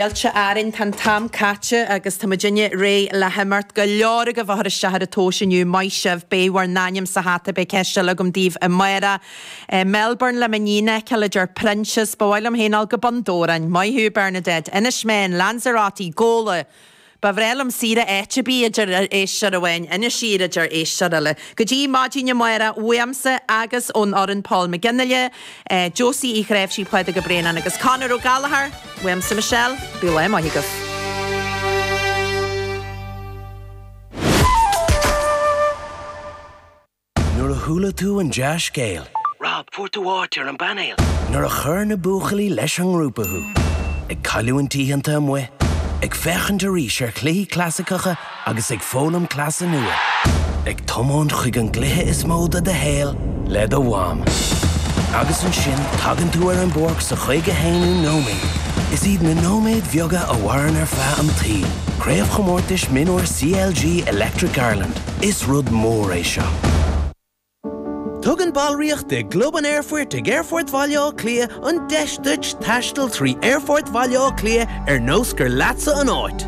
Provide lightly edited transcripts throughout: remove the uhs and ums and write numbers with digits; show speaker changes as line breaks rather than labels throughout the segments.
Fáilte Árainn, tá an t-am caite agus tá muidinne réidh le himeacht. Go leor agaibh a chuir isteach ar an tomhas inniu, maith sibh, beidh bhur n-ainm sa hata, beidh ceist eile agam daoibh amárach. Melbourne le m'iníon a fheiceáil, a deir Proinsias. Ba mhaith liom féin a dhul go Bun Dobhráin. Maith thú, Bernadette. Inis Meáin, Lanzarote, Gabhla! Ba bhreá liom saoire áit ar bith, a deir éisteoir amháin. Inis Oírr, a deir éisteoir eile. Go dtí maidin amárach, uaimse agus ón fhoireann Paul McGinley, Josie Uí Chnáimhsí, Pádraig Ó Braonáin agus Conor Ó Gallchóir, uaimse Michelle, bíodh lá maith agaibh.
Nuair a chuala tú an dea-scéal. Rob, fuair tú áit ar an bpainéal! Nuair a chuir na buachaillí leis an ngrúpa thú. Ag cailliúint oícheanta amuigh, ag féachaint arís ar chluichí clasaiceacha agus ag foghlaim cleasa nua. Ag tiomáint chuig an gcluiche is mó de do shaol le do mham. Agus ansin tagann tú ar an bpáirc sa 51ú nóiméad. Is iad na nóiméid bheaga a mhaireann ar feadh an tsaoil. Craobhchomórtais Mionúir CLG Electric Ireland. Is rud mór é seo. Tugann ballraíocht i gClub an Aerfoirt ag Aerfort Bhaile Átha Cliath an deis duit taisteal trí Aerfort Bhaile Átha Cliath ar nós gur leatsa an áit.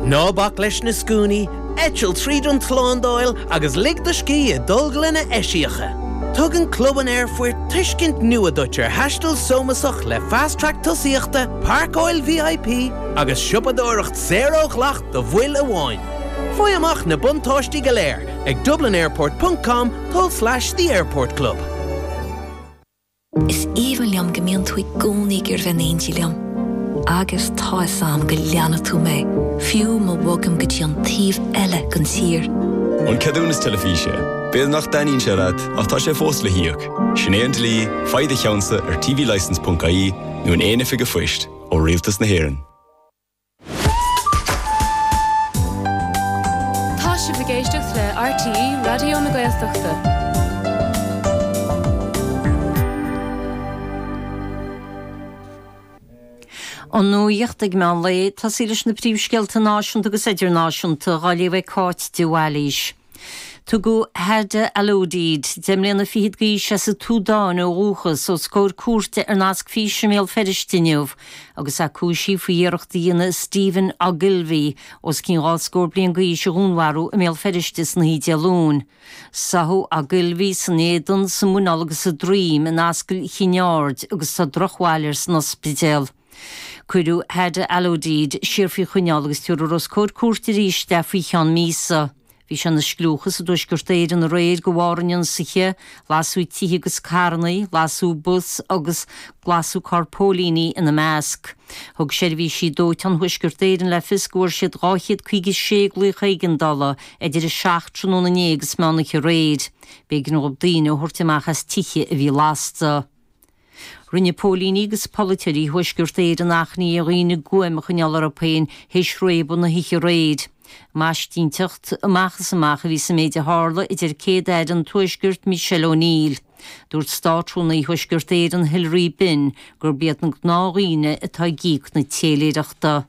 Ná bac leis na scuainí, eitil tríd an tslándáil agus lig do scíth i dtolglanna eisiacha. Tugann Club an Aerfoirt tuiscint nua duit ar thaisteal sómasach le Fast Track tosaíochta, páirceáil VIP agus siopadóireacht saor ó dhleacht do bhaill amháin. Faigh amach na buntáistí go léir ag dublinairport ponc com tulslais the airport club.
Is aoibhinn liom go mbíonn tú i gcónaí ag iarraidh bheith in éindí liom. Agus tá 'fhios a'm go leanfaidh tú mé, fiú má bhogaim go dtí an taobh eile den tír.
An ceadúnas teilifíse. B'fhéidir nach dtaitníonn sé leat, ach tá sé fós le híoc. Sin é an dlí, faigh do cheannsa ar tvlicence.ie nó in aon oifig an phoist, ó Rialtas na hÉireann.
Tá sibh ag éisteacht le RTÉ Raidió na Gaeltachta.
An nuacht ag meán lae, tosaí leis na príomhscéalta náisiúnta agus idirnáisiúnta, á léamh ag Cáit de Bhailís. Tugadh Hada Alodid, 10 mbliana fichead d'aois as an tSúdáin ó dhúchas, os comhair cúirte ar nasc físe i mBéal Feirste inniu agus é cúisithe faoi iarracht a dhéanamh Stephen Ogilvie, os cionn dhá scór bliain d'aois, a dhúnmharú i mBéal Feirste san oíche Dé Luain. Sáthadh Ogilvie san éadan, sa muineál agus sa droim in Ascaill Chinn Aird agus tá drochbhail air san ospidéal. Cuireadh Hada Alodid siar faoi choinneáil agus tabharfar os comhair cúirte arís é faoi cheann míosa. Bhí sé ina scliúchas i dTuaisceart Éireann aréir de bharr an ionsaithe, lasadh tithe agus carranna, lasadh bus agus lasadh carr póilíní ina measc. Thug seirbhísí dóiteáin Thuaisceart Éireann le fios go bhfuair siad 256 glaoch éigeandála idir 7 tráthnóna inné agus meán oíche aréir. B'éigean dóibh daoine a thabhairt amach as tithe a bhí lasta. Rinne póilíní agus polaiteoirí Thuaisceart Éireann achainí ar dhaoine guaim a choinneáil orthu féin théis réabadh na hoíche aréir. Maisitínteacht amach is amach a bhí sa méid a tharla, a deir Céad-Aire an Tuaiscirt, Michelle O'Neill. Dúirt Státrúnaí Thuaisceart Éireann, Hilary Benn, gurb iad na gnáthdhaoine atá ag íoc na téiléireachta.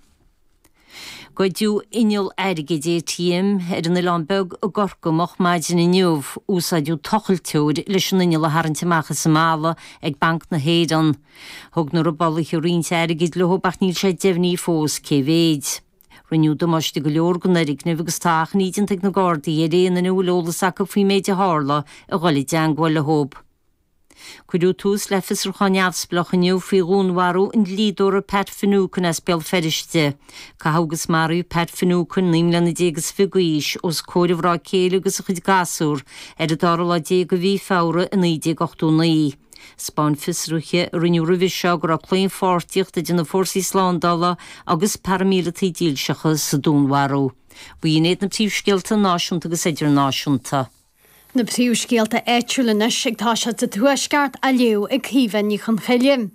Goideadh inneall airgid ATM ar an Oileán Beag i gCorcaigh moch maidin inniu. Úsáideadh tochailteoir leis an inneall a tharraingt amach as an mballa ag Banc na hÉireann. Thug na robálaithe roinnt airgid leo ach níl sé deimhnithe fós cé mhéid. Rinneadh damáiste go leor don fhoirgneamh agus tá achainí déanta ag na Gardaí ar aon duine a bhfuil eolas acu faoin méid a tharla a dhul i dteangmháil leo. Cuireadh tús le fiosrúchán neamhspleách inniu faoi dhúnmharú an dlíodóra Pat Finucane as Béal Feirste. Caitheadh agus maraíodh Pat Finucane, 19 mbliana is fiche d'aois, os comhair a mhná céile agus a chuid gasúr ar an dara lá déag de mhí Feabhra i 1989. 'Spáin fiosruithe a rinneadh roimhe seo go raibh claonpháirtíocht idir na fórsaí slándála agus paraimíleataigh dílseacha sa dúnmharú. B'in iad na príomhscéalta náisiúnta agus idirnáisiúnta.
Na príomhscéalta áitiúla anois ag toiseacht sa Tuaisceart á léamh ag Caoimhe Ní Chonchoille.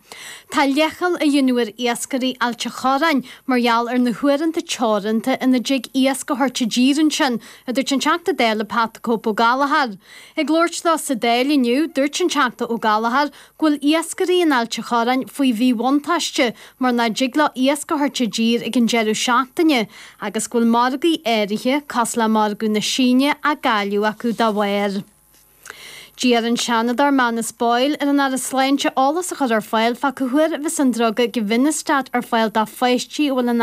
Tá leithcheal á dhéanamh ar iascairí Ailt a' Chorráin mar gheall ar na huaireanta teoranta ina dtig iasc a thabhairt i dtír ansin, a dúirt an Teachta Dála Pat the Cope Ó Gallchóir. Ag labhairt dó sa Dáil inniu, dúirt an Teachta Ó Gallchóir go bhfuil iascairí in Ailt a' Chorráin faoi mhíbhuntáiste mar nach dtig leo iasc a thabhairt i dtír ag an deireadh seachtaine agus go bhfuil margaí áirithe, cosúil le margadh na Síne, á gcailleadh acu dá bharr. D'iarr an Seanadóir Manus Boyle ar an Aire Sláinte eolas a chur ar fáil fá cá huair a bheas an druga Givinostat ar fáil do pháistí a bhfuil an.